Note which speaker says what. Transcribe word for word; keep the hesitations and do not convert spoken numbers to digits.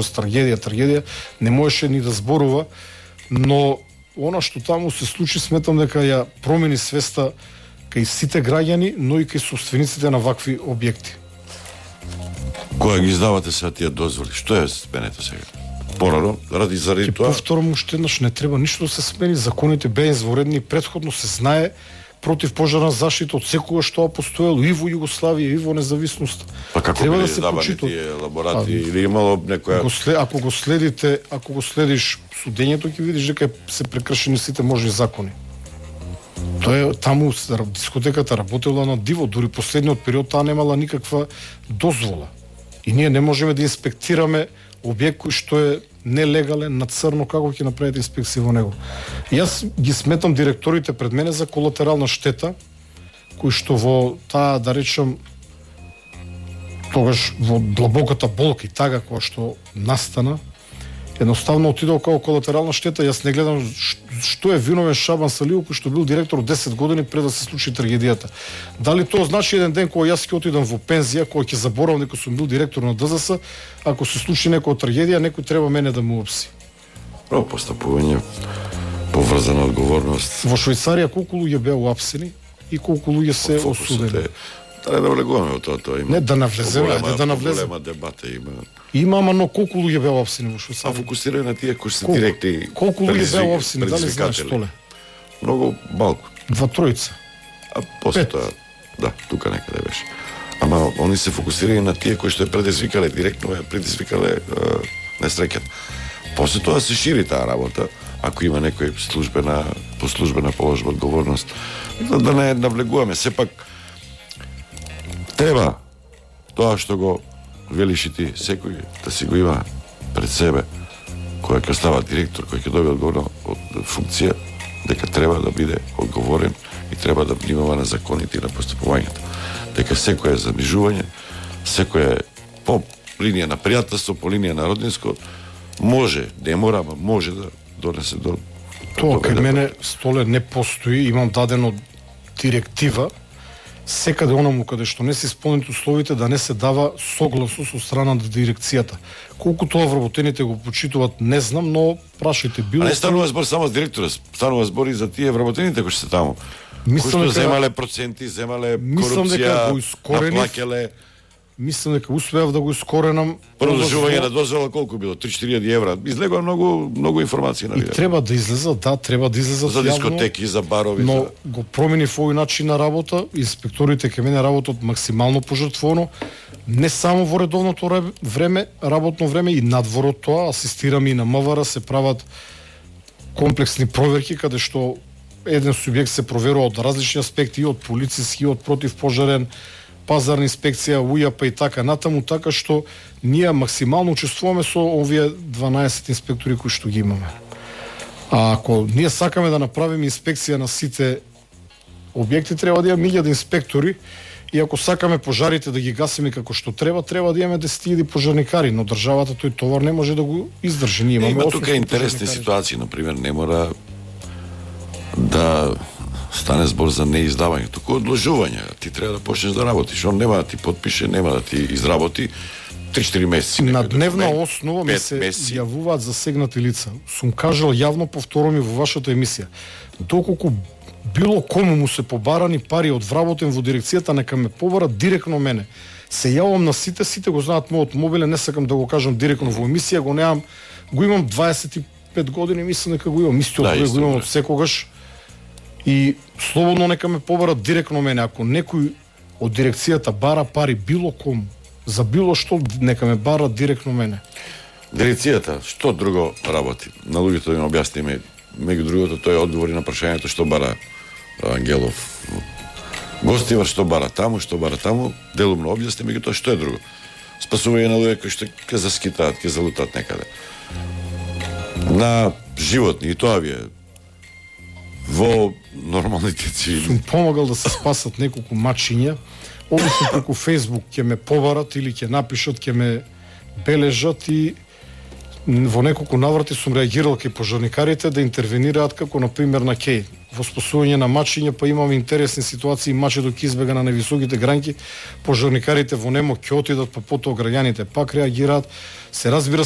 Speaker 1: трагедија, трагедија, не можеше ни да зборува, но она што таму се случи, сметам дека ја промени свеста кај сите граѓани, но и кај собствениците на вакви објекти.
Speaker 2: Која ги издавате сега тие дозволи? Што е сменето сега? Порано, ради заради тоа?
Speaker 1: Повторам уште еднаш, не треба ништо да се смени, законите беа изворедни, претходно се знае против пожарна заштита од секогаш што постоело и во Југославија и во независност.
Speaker 2: Па како
Speaker 1: треба
Speaker 2: да
Speaker 1: се
Speaker 2: почитува тие лаборати а, или имало некоја
Speaker 1: го след, ако го следите, ако го следиш судењето, ќе видиш дека се прекршени сите можни закони. Тоа е таму дискотеката работела на диво, дури последниот период таа немала никаква дозвола. И ние не можеме да инспектираме објект кој што е нелегален, на црно, како ќе направите инспекција во него. И јас ги сметам директорите пред мене за колатерална штета, кој што во таа, да речем, тогаш во длабоката болка и тага која што настана, едноставно отидол како колатерална штета. Јас не гледам што е виновен Шабан Салиев, кој што бил директор десет години пред да се случи трагедијата. Дали тоа значи еден ден кога јас ќе отидам во пензија, кога ќе заборавам дека сум бил директор на ДЗС, ако се случи некоја трагедија, некој треба мене да му опси.
Speaker 2: Право постапување, поврзана одговорност.
Speaker 1: Во Швајцарија колку луѓе беа уапсени и колку луѓе се осудени?
Speaker 2: Да не влегуваме во тоа, тоа има.
Speaker 1: Не, да навлеземе, ајде да навлеземе.
Speaker 2: Голема дебата има.
Speaker 1: Има, ама но колку луѓе беа уапсени во Швајцарија?
Speaker 2: А фокусирај на тие кои се директни.
Speaker 1: Колку луѓе беа уапсени, дали знаеш толе?
Speaker 2: Многу малку.
Speaker 1: Два тројца.
Speaker 2: А после тоа, да, тука некаде беше. Ама они се фокусирај на тие кои што е предизвикале, директно е предизвикале несреќата. После тоа се шири таа работа, ако има некој службена, по службена положба одговорност. Да не навлегуваме, сепак треба тоа што го велиш и ти, секој да си го има пред себе, кој ќе става директор, кој ќе добие одговорна од функција, дека треба да биде одговорен и треба да внимава на законите и на постапувањето. Дека секој е замижување, секој е по линија на пријателство, по линија на роднинско, може, не мора, ама може да донесе до...
Speaker 1: Тоа кај мене, Столе, не постои, имам дадено директива, секаде онаму каде што не се исполнети условите да не се дава согласност од страна на дирекцијата. Колку тоа вработените го почитуваат, не знам, но прашајте било.
Speaker 2: А не станува збор само за директора, станува збор и за тие вработените кои се таму. Кои што земале проценти, земале корупција, наплакеле.
Speaker 1: Мислам дека успеав да го искоренам.
Speaker 2: Продолжување на дозвола колку било? три-четири илјади евра. Излегува многу многу информации на
Speaker 1: лидер. И треба да излезат, да, треба да излезат
Speaker 2: за дискотеки, за барови,
Speaker 1: но
Speaker 2: за...
Speaker 1: го промени овој начин на работа. Инспекторите ке мене работат максимално пожртвовано, не само во редовното време, работно време и надвор од тоа. Асистирам и на МВР, се прават комплексни проверки каде што еден субјект се проверува од различни аспекти, и од полициски, и од противпожарен, пазарна инспекција, УЈАП и така натаму, така што ние максимално учествуваме со овие дванаесет инспектори кои што ги имаме. А ако ние сакаме да направиме инспекција на сите објекти, треба да имаме илјада инспектори, и ако сакаме пожарите да ги гасиме како што треба, треба да имаме десет илјади пожарникари, но државата тој товар не може да го издржи. Ние имаме
Speaker 2: има тука интересни ситуации, например, не мора да стане збор за неиздавање, туку одложување. Ти треба да почнеш да работиш. Он нема да ти подпише, нема да ти изработи три-четири месеци.
Speaker 1: На дневна основа ми се месеци. Јавуваат засегнати лица. Сум кажал јавно, повторам и во вашата емисија. Доколку било кому му се побарани пари од вработен во дирекцијата, нека ме побара директно мене. Се јавам на сите, сите го знаат мојот мобилен, не сакам да го кажам директно во емисија, го немам, го имам дваесет и пет години, мислам дека го имам, истиот да, го имам од секогаш. И слободно нека ме побарат директно мене. Ако некој од дирекцијата бара пари било кому, за било што, нека ме барат директно мене.
Speaker 2: Дирекцијата, што друго работи? На луѓето им објасниме, меѓу другото, тој одговори на прашањето што бара Ангелов. Гостива што бара таму, што бара таму, делумно објасни, меѓу тоа што е друго. Спасување на луѓе кои што ќе заскитаат, ќе залутаат некаде. На животни, и тоа ви е во нормалните цивили.
Speaker 1: Сум помагал да се спасат неколку мачиња. Обично преку Facebook ќе ме побарат или ќе напишат, ќе ме бележат и во неколку наврати сум реагирал кај пожарникарите да интервенираат, како на пример на Кеј во спасување на мачиња, па имаме интересни ситуации, мачето ќе избега на невисоките гранки, пожарникарите во немо ќе отидат, па потоа граѓаните пак реагираат. Се разбира,